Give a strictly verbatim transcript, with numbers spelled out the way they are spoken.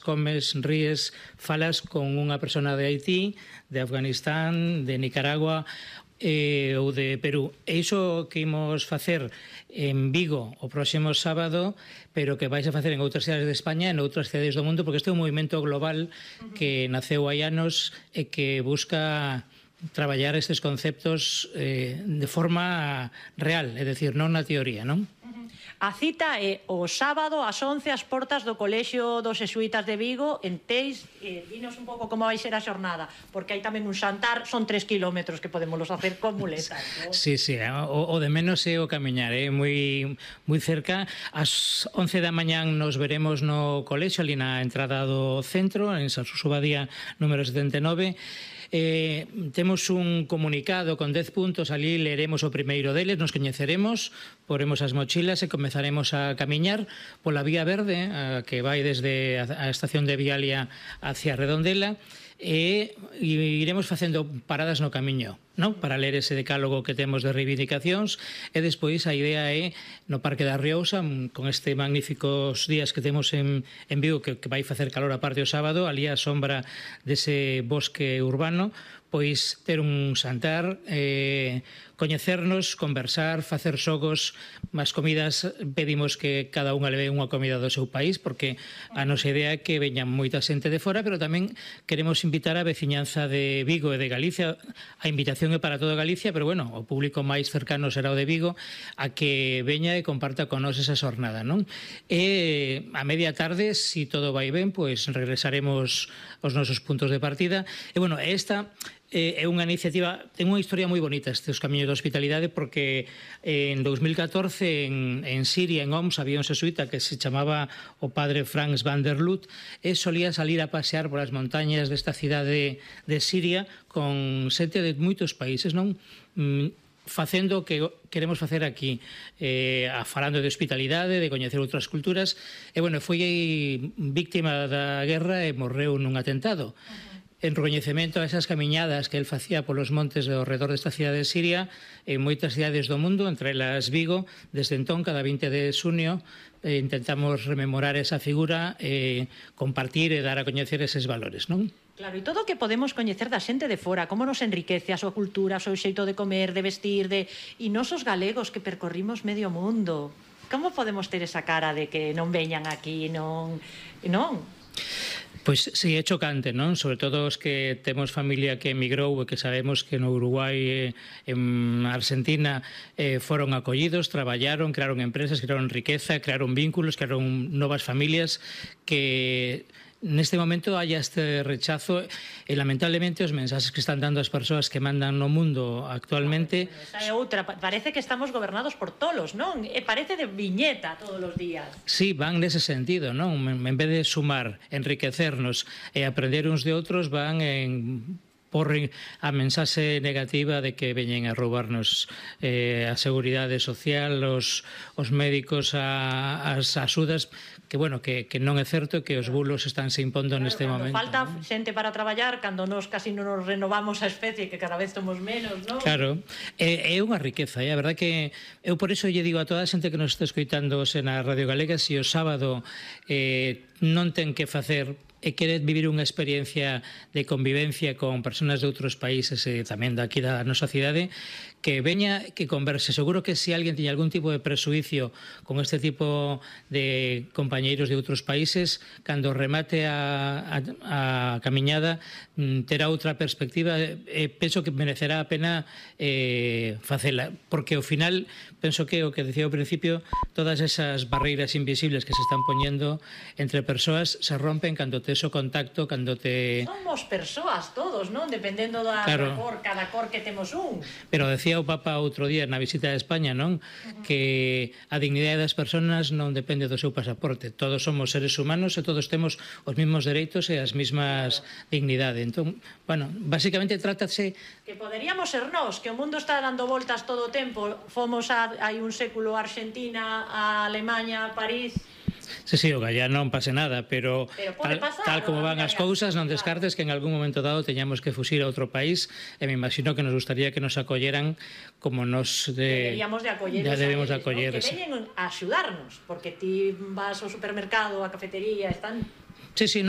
comes, ríes, falas con unha persona de Haití, de Afganistán, de Nicaragua eh, ou de Perú. E iso que imos facer en Vigo o próximo sábado, pero que vais a facer en outras cidades de España e en outras cidades do mundo, porque este é un movimento global que naceu hai anos e que busca traballar estes conceptos eh, de forma real, é dicir, non na teoría, non? A cita é o sábado ás once ás portas do Colexio dos Xesuítas de Vigo en Teis. Eh, dinos un pouco como vai ser a xornada, porque hai tamén un xantar, son tres kilómetros que podemos hacer con muletas, ¿no? Sí, sí, o, o de menos é o camiñar, é eh? moi moi cerca. Ás once da mañán nos veremos no colexio, ali na entrada do centro, en Sansuso Badía número setenta e nove. Eh, temos un comunicado con dez puntos, ali leeremos o primeiro deles, nos coñeceremos, poremos as mochilas e comezaremos a camiñar pola Vía Verde, a que vai desde a estación de Vialia hacia Redondela, e iremos facendo paradas no camiño, non? Para ler ese decálogo que temos de reivindicacións, e despois a idea é no Parque da Riousa, con este magníficos días que temos en, en Vigo, que, que vai facer calor a parte o sábado, ali a sombra dese bosque urbano, pois ter un xantar, eh, coñecernos, conversar, facer xogos, as comidas pedimos que cada unha leve unha comida do seu país, porque a nosa idea é que veñan moita xente de fora, pero tamén queremos invitar a veciñanza de Vigo e de Galicia. A invitación é para toda Galicia, pero bueno, o público máis cercano será o de Vigo, a que veña e comparta con nós esa xornada, non? E a media tarde, se si todo vai ben, pois regresaremos aos nosos puntos de partida. E bueno, esta é unha iniciativa, ten unha historia moi bonita estes camiños de hospitalidade, porque en dos mil catorce en, en Siria, en Homs, había un xesuíta que se chamaba o padre Franz van der Lut, e solía salir a pasear polas montañas desta cidade de Siria con xente de moitos países, non? Facendo o que queremos facer aquí, eh, falando de hospitalidade, de coñecer outras culturas, e bueno, foi víctima da guerra e morreu nun atentado. En recoñecemento a esas camiñadas que el facía polos montes ao redor desta cidade de Siria, en moitas cidades do mundo, entre elas Vigo, desde entón, cada vinte de xunio, eh, intentamos rememorar esa figura, eh, compartir e dar a coñecer eses valores, non? Claro, e todo o que podemos coñecer da xente de fora, como nos enriquece a súa cultura, o seu xeito de comer, de vestir, de... e nos os galegos que percorrimos medio mundo. Como podemos ter esa cara de que non veñan aquí, non... non? Pois si, é chocante, non? Sobre todo os que temos familia que emigrou e que sabemos que no Uruguai e en Argentina eh, foron acollidos, traballaron, crearon empresas, crearon riqueza, crearon vínculos, crearon novas familias, que neste momento hai este rechazo e lamentablemente os mensaxes que están dando as persoas que mandan no mundo actualmente. Esa é outra, parece que estamos gobernados por tolos, non? E parece de viñeta todos os días. Sí, van nese sentido, non? En vez de sumar, enriquecernos e aprender uns de outros, van en porren a mensaxe negativa de que veñen a roubarnos eh, a seguridade social, os, os médicos, a, as axudas, que bueno, que, que non é certo, que os bulos están se impondo claro, neste momento. Falta ¿no? xente para traballar, cando nos casi non nos renovamos a especie, que cada vez somos menos, non? Claro, é, é unha riqueza, é a verdade que eu por iso lle digo a toda a xente que nos está escoitando na Radio Galega, se o sábado eh, non ten que facer e quere vivir unha experiencia de convivencia con personas de outros países e tamén daqui da nosa cidade, que veña, que converse. Seguro que se alguén tiña algún tipo de presuicio con este tipo de compañeiros de outros países, cando remate a, a, a camiñada terá outra perspectiva e penso que merecerá a pena eh, facela, porque ao final penso que o que decía ao principio, todas esas barreiras invisibles que se están poñendo entre persoas se rompen cando tes o contacto, cando te... Somos persoas todos, non? Dependendo da claro. cor, cada cor que temos un. Pero decía o Papa outro día na visita a España, non? Uh-huh. Que a dignidade das persoas non depende do seu pasaporte. Todos somos seres humanos e todos temos os mesmos dereitos e as mesmas claro. dignidade. Entón, bueno, basicamente trátase... Que poderíamos ser nós, que o mundo está dando voltas todo o tempo. Fomos a, hai un século a Argentina, a Alemanha, a París... Sí, sí, o gallá non pase nada, pero, pero tal, pasar, tal como van as cousas, non descartes que en algún momento dado teñamos que fuxir a outro país, e me imagino que nos gustaría que nos acolleran como nos de... Deberíamos de acolleros ya debemos a eles, acoller, ¿no? Que veñen a axudarnos, porque ti vas ao supermercado, a cafetería, están... Sí, sí, no.